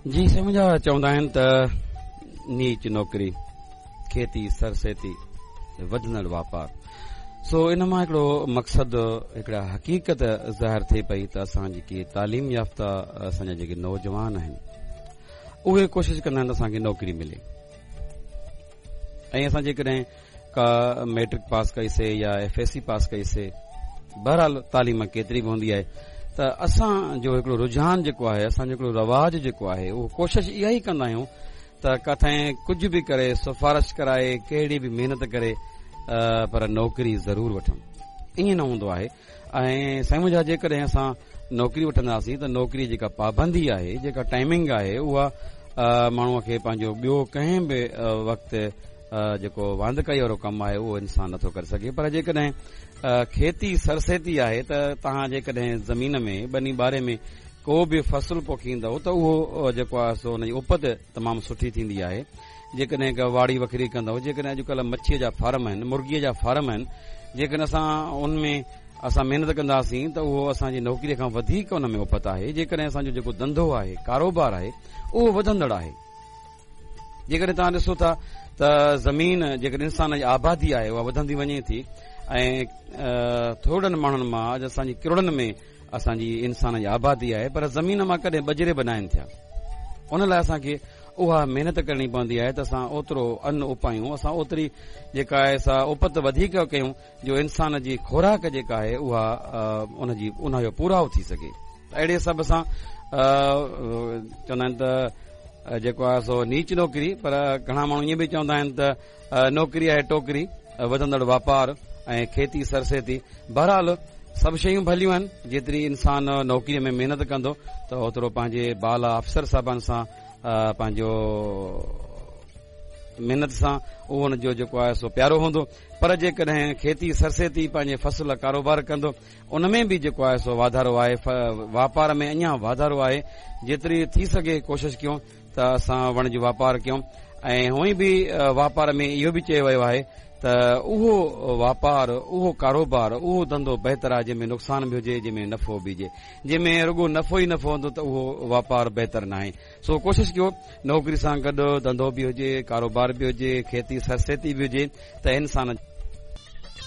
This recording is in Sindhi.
جي سائين منهنجا چوندا آهن ته نيچ نوڪري کيتي سرسيتي وڌندڙ واپار سو ان مان هڪڙو مقصد هڪڙا حقيقت ظاهر ٿئي پئي ته اسان جيڪي تعليم يافته اسان جا جيڪي نوجوان آهن اهي ڪوشش ڪندا آهن ته اسان کي نوڪري ملي ۽ اسان جيڪڏهن ڪا ميٽرڪ پاس ڪئي سي يا ايف ايس سي پاس ڪئي سي بهرحال تعليم ڪيتري به هوندي آهي ته اسان جو هڪڙو رجحان جيڪو آهي اسان جو هڪڙو رواج جيڪو آهي اهو ڪوشش اها ئي ڪندا آهيون ته ڪٿي ڪجهه به ڪري سفارش ڪرائي ڪهڙي به محنت ڪري پر نوڪري ضرور وٺون ائين نه هوندو آهي ۽ سائين منهنجا جيڪڏهن اسان نوڪري وٺنداسين ته نوڪري جيڪا پابندي آهي جيڪا ٽائمنگ آهي اها ماڻهوء کي پنهنجو ٻيو ڪنهن به وقت جيڪو واندڪائي وارو ڪم آهي اهو انسان نٿو ڪري سگهي پر جيڪڏهن کيتي سرسيتي آهي ته توهان جيڪڏهن زمين ۾ ٻني ٻاري ۾ ڪو به فصل پوکيندؤ ته اهو جيڪو آهي سو ان جي اپت تمام سٺي ٿيندي آهي جيڪڏهن ڪا واڙي وکري ڪندؤ جيڪڏهن اڄڪلهه مڇيء جا فارم آهن مرغيء جا فارم آهن جيڪڏهن اسان ان ۾ اسان محنت ڪنداسين ته اهو اسان جي نوڪريء کان وڌيڪ ان ۾ اپت آهي جيڪڏهن اسان جو جيڪو ڌنڌو آهي ڪاروبار آهي اهو وڌندڙ آهي جيڪڏهن توهان ڏسو ٿا ته زمين جيڪڏهن انسان جي آبادي آهي اها وڌندي وڃي ٿي ۽ ٿورڙن ماڻهن مان اڄ اسان جي ڪروڙن ۾ اسان جي انسان جي آبادي آهي پر زمين مان ڪڏهن ٻجري به ناهن ٿيا ان لاء اسان کي اها محنت ڪرڻي پوندي آهي ته اسان اوترو ان اپايون اسان اوتري جيڪا آهي سا اپت وڌيڪ ڪيون جو انسان جي خوراڪ جيڪا آهي اها ان جي ان جو پورائو ٿي سگهي ته اهڙي حساب سان چوندا آهن ته جيڪو آهي سو نيچ نوڪري پر گهڻا ماڻهو ائين به چوندا آهن ته نوڪري آهي ٽوڪري وڌندڙ واپار ۽ کيتي سرسيتي بهرحال سڀ شيون ڀليون آهن جيتري انسان نوڪري ۾ محنت ڪندو ته اوترو پنهنجي بالا افسر صاحبان سان پنهنجو محنت سان اهو ان جو جيڪو آهي سو پيارو هوندو پر جيڪڏهن کيتي سرسيتي پنهنجي فصل ڪاروبار ڪندو ان ۾ به جيڪو آهي سو واڌارو آهي واپار ۾ اڃا واڌارو آهي جيتري ٿي سگهي ڪوشش ڪيون ته اسان وڻج واپار ڪيون ۽ هونئن به واپار ۾ اهو به چيو ويو آهي ته اهو واپار اهو ڪاروبار اهو ڌنڌو بهتر آهي جنهن ۾ نقصان به هجي جنهن ۾ نفعو به هجي جنهن ۾ رڳو نفعو ئي نفعو هوندو ته اهو واپار بهتر ناهي سو ڪوشش ڪيو نوڪري سان گڏ ڌنڌو به هجي ڪاروبار به هجي کيتي سرسيتي به هجي ته انسان.